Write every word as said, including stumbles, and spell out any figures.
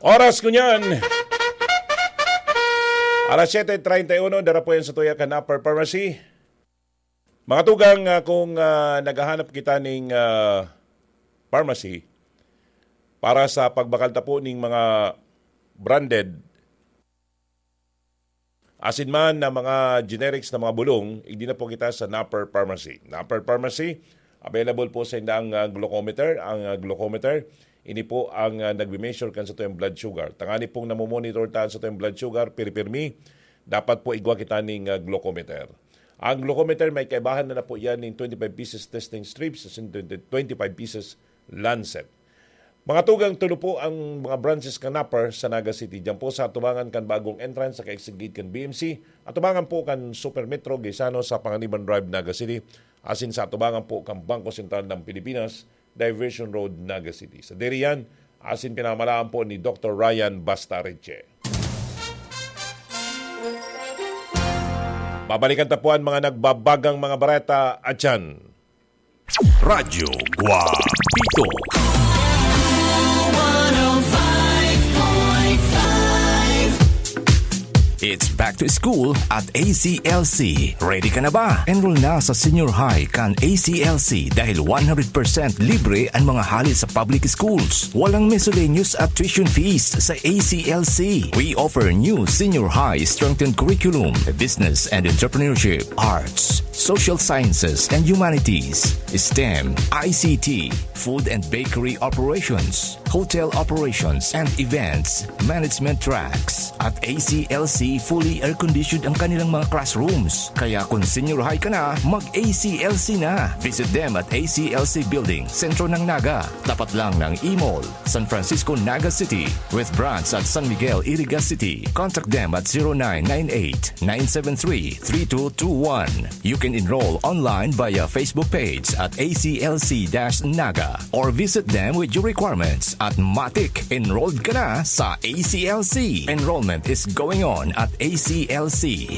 Oras ko niyan. Alas siyete treinta y uno, dara po yan sa tuya kan Upper Pharmacy. Mga tugang, ah, kung, ah, naghahanap kita ning, ah, pharmacy para sa pagbakal ta po ning mga branded, asin man na mga generics na mga bulong, igdi na po kita sa Napper Pharmacy. Napper Pharmacy, available po sa indang, ah, glucometer. Ang, ah, glucometer, ini po ang, ah, nagme-measure kan sa tuyang blood sugar. Tangani pong namomonitor ta sa tuyang blood sugar, pirmi-pirmi, dapat po igwa kita ning, ah, glucometer. Ang glucometer, may kaibahan na, na po yan ning twenty-five pieces testing strips, asin twenty, twenty-five pieces lancet. Mga tugang, tulo po ang mga branches kan Napper sa Naga City. Diyan po sa atubangan kan bagong entrance sa ka-exit gate kan B M C, atubangan po kan Super Metro Gaisano sa Panganiban Drive, Naga City, asin sa atubangan po kan Bangko Sentral ng Pilipinas, Diversion Road, Naga City. Sa diri yan, asin pinamalaan po ni Doktor Ryan Bastareche. Babalikan ta po ang mga nagbabagang mga bareta at yan. Radyo Guapito. It's back to school at A C L C. Ready ka na ba? Enroll na sa senior high kan A C L C dahil one hundred percent libre ang mga hali sa public schools. Walang miscellaneous at tuition fees sa A C L C. We offer new senior high strengthened curriculum, business and entrepreneurship, arts, social sciences and humanities, stem, I C T, food and bakery operations, hotel operations and events management tracks. At A C L C, fully air-conditioned ang kanilang mga classrooms. Kaya kung senior high ka na, mag-A C L C na. Visit them at A C L C Building, sentro ng Naga, tapat lang ng E-Mall, San Francisco, Naga City, with branch at San Miguel, Iriga City. Contact them at zero nine nine eight, nine seven three, three two two one. You can enroll online via Facebook page at A C L C dash Naga or visit them with your requirements at matik. Enrolled ka na sa A C L C. Enrollment is going on at A C L C.